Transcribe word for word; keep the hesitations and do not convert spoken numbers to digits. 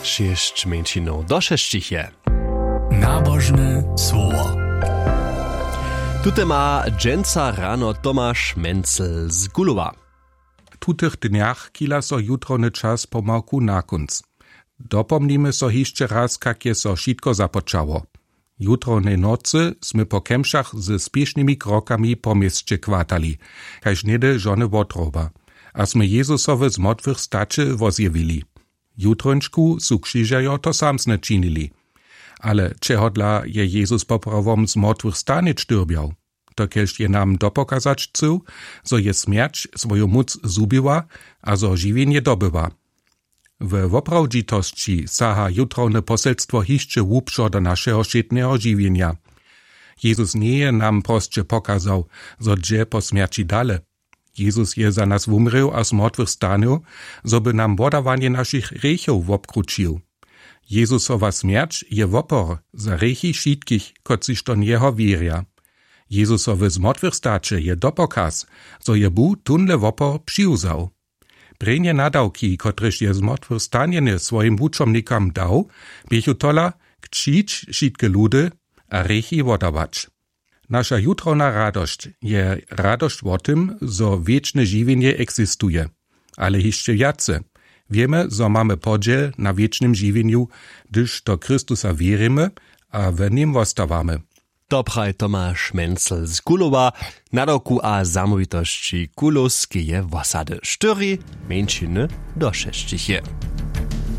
Šěsć mjeńšinow došesćich je. Nabožne słowo. Tute ma dźensa rano Tomaš Mencel z Kulowa. W tutych dnjach chila so jutrowny čas pomałku na kónc. Dopomnimy so hišće raz, kak je so wšitko započało. Jutrownej nocy smy po kemšach ze spěšnymi krokami po měsće kwatali, kaž něhdy žony wotroba, a smy Jezusowe z mortwych staće wozjewili. Jutrónčku su křižerjo to samsne činili. Ale čehodla je Jezus poprawom z mortwych stanić dyrbjał? To kelž je nam dopokazać chcył, zo je smjerć swoju móc zhubiła a zo žiwjenje dobyła. We woprawdźitosći saha jutrowne poselstwo hišće hłubšo do našeho wšědneho žiwjenja. Jezus njeje nam prosće pokazał, zo dźe po smjerći dale. Jezus je za nas wumrěł a z mortwych stanył, zo by nam wodawanje našich hrěchow wobkrućił. Jezusowa smjerć je wopor za hrěchi wšitkich, kotřiž do njeho wěrja. Jezusowe z mortwych staće je dopokaz, zo je Bóh tónle wopor přiwzał. Prěnje nadawki, kotrež je z mortwych stanjenje swojim wučomnikam dał, běchu tola: Křić, wšitke ludy, a hrěchi wodawać. Naša jutrowna radosć je radosć wo tym, zo wěčne žiwjenje eksistuje. Ale hišće wjace, wěmy, zo mamy podźěl na wěčnym žiwjenju, hdyž do Chrystusa wěrimy a w nim wostawamy. To praji Tomaš Mencel z Kulowa, nadawku a zamołwitosći Kulowskeje wosady. Štyri mjeńšiny do šesćich je.